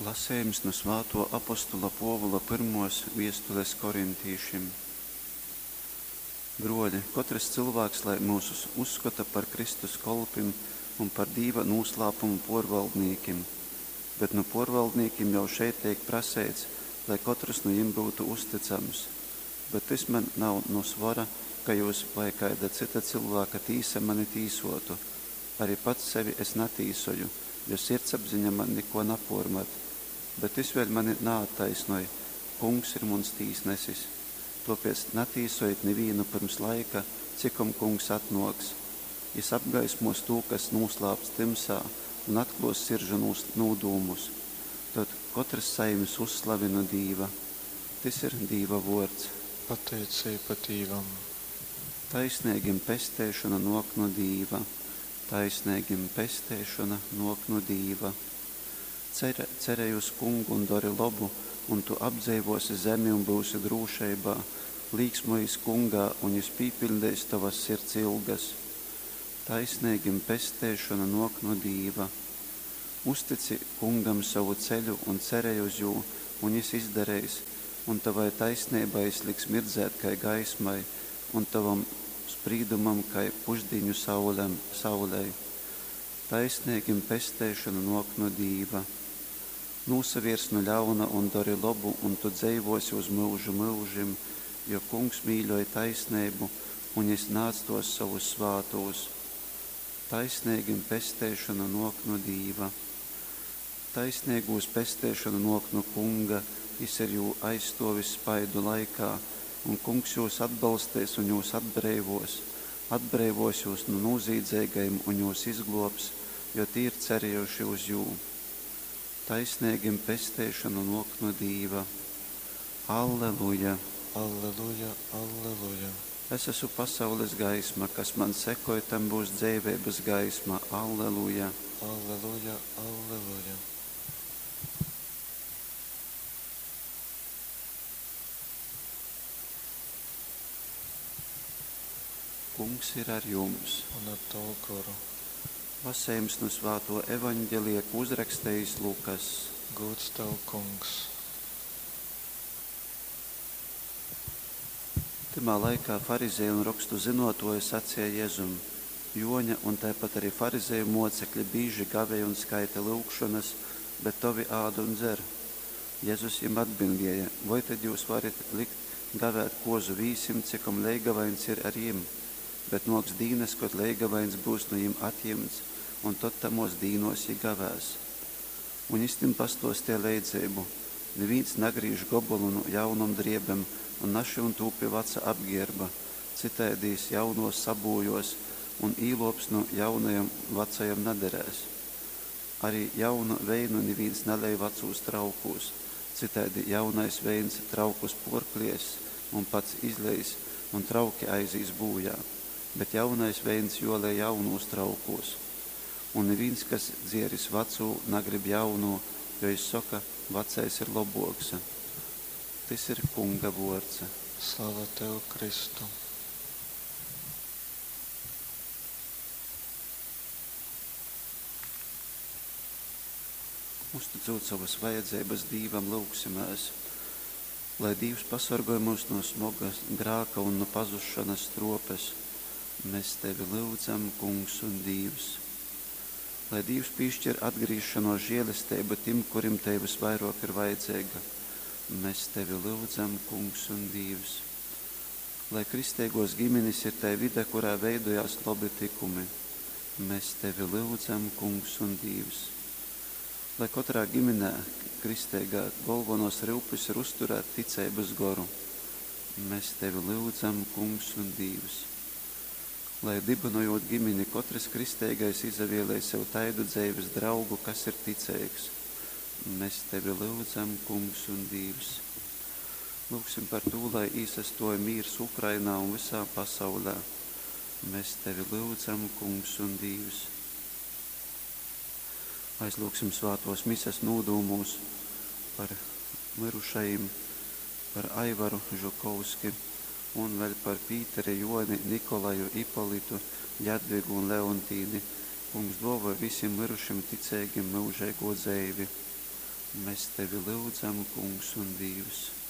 Lasejums nu svātuo apostola Puovula pyrmuos viestules korintīšim. Bruoli, kotrys cylvāks lai myusus uzskota par Kristus kolpim un par Dīva nūslāpumu puorvaldnīkim. Bet nu puorvaldnīkim jau šeit teik praseits, lai kotrys nu jim byutu uztycams. Bet tys man nav nu svora, ka jyus vai kaida cyta cylvāka tīsa mani tīsuotu. Ari pats sevi es natīsoju, jo sirdsapziņa man nikuo napuormat. Bet tys vēļ mani naattaisnoj, Kungs ir muns tīsnesis. Tuopiec natīsojit nivīnu pyrms laika, cikom Kungs atnuoks. Jis apgaismuos tū, kas nūslāpts tymsā, un atkluos siržu nūdūmus. Tod kotrs sajims uzslavi nu Dīva. Tys ir Dīva vuords. Pateiceiba Dīvam. Taisneigim pesteišona nōk nu Dīva. Taisneigim pesteišona nōk nu Dīva. Cere, cerej uz Kungu un dori lobu, un tu apdzeivōsi zemi un byusi drūšeibā. Līksmojīs Kungā, un jys pīpiļdeis tovas sirds ilgas. Taisneigim pesteišona nōk nu Dīva. Uztici Kungam sovu ceļu un cerej uz jū, un jys izdareis, un tovai taisneibai jys liks mirdzēt kai gaismai, un tovam sprīdumam kai pušdīņu saulem, saulei. Taisneigim pesteišona nōk nu Dīva. Nūsaviers nu ļauna un dori lobu, un tu dzeivuosi uz myužu myužim, jo Kungs mīļoj taisneibu, un jys naatstuos sovus svātūs. Taisneigim pesteišona nuok nu Dīva. Taisneigūs pesteišona nuok nu Kunga, jis ir jū aizstuovis spaidu laikā, un Kungs jūs atbalsteis un jūs atbreivuos, atbreivuos jūs nu nūzīdzeigajim un jūs izgluobs, jo tī ir ceriejuši uz jū. Taisneigim pesteišona nuok nu Dīva. Alleluja! Alleluja, alleluja. Es esmu pasaules gaisma, kas man sekoj, tam būs dzeiveibys gaisma. Alleluja! Alleluja, alleluja. Kungs ir ar jums. Un ar tavu goru. Lasejums nu svātuo evaņgelija, ko uzrakstejis Lukass. Gūds tev, Kungs. Tymā laikā farizeji un rokstu zynuotuoji saceja Jezum: Juoņa un taipat ari farizeju muocekli bīži gavej un skaita lyugšonys, bet tovi ād un dzer. Jezus jim atbiļdēja: Voi tad jyus varit likt gavēt kuozu vīsim, cikom leigavaiņs ir ar jim? Bet nuoks dīnys, kod leigavaiņs byus nu jim atjimts, un tod tamuos dīnuos jī gavēs. Un jis tim pastuosteja leidzeibu: Nivīns nagrīž gobolu nu jaunom driebem un našyun tū pi vaca apgierba, cytaidi jis jaunuos sabūjuos, un īluops nu jaunajom vacajom naderēs. Ari jaunu veinu nivīns nalej vacūs traukūs, cytaidi jaunais veins traukus puorpliess un pats izleis, un trauki aizīs būjā. Bet jaunais veins juolej jaunūs traukūs. Un nivīns, kas dzieris vacū, nagrib jaunū, jo jis soka, vacais ir lobuoks. Tys ir Kunga vuords. Slava tev, Kristu. Uzticūt sovas vajadzeibys Dīvam, lyugsimēs, lai Dīvs pasorgoj myus no smoga grāka un nu pazusšonys struopes. Mēs Tevi lyudzam, Kungs un Dīvs. Lai Dīvs pīškir atgrīzšonuos žielesteibu tim, kurim tei vysvairuok ir vajadzeiga. Mēs Tevi lyudzam, Kungs un Dīvs. Lai kristeiguos giminis ir tei vide, kurā veidojās lobi tykumi. Mēs Tevi lyudzam, Kungs un Dīvs. Lai kotrā giminē kristeigā golvonuos ryupis ir uzturēt ticeibys goru. Mēs Tevi lyudzam, Kungs un Dīvs. Lai dybynojūt gimini, kotrys kristeigais izavielej sev taidu dzeivis draugu, kas ir ticeigs. Mēs Tevi lyudzam, Kungs un Dīvs. Lyugsim par tū, lai īsastuoj mīrs Ukrainā un vysā pasaulē. Mēs Tevi lyudzam, Kungs un Dīvs. Aizlyugsim svātuos mises nūdūmūs par myrušajim, par Aivaru Žukovski un vēļ par Pīteri, Juoni, Nikolaju, Ipolitu, Jadvigu un Leontīni. Kungs duovoj vysim myrušim ticeigim myužeigū dzeivi. Mes tevi lyudzam, Kungs un Dīvs.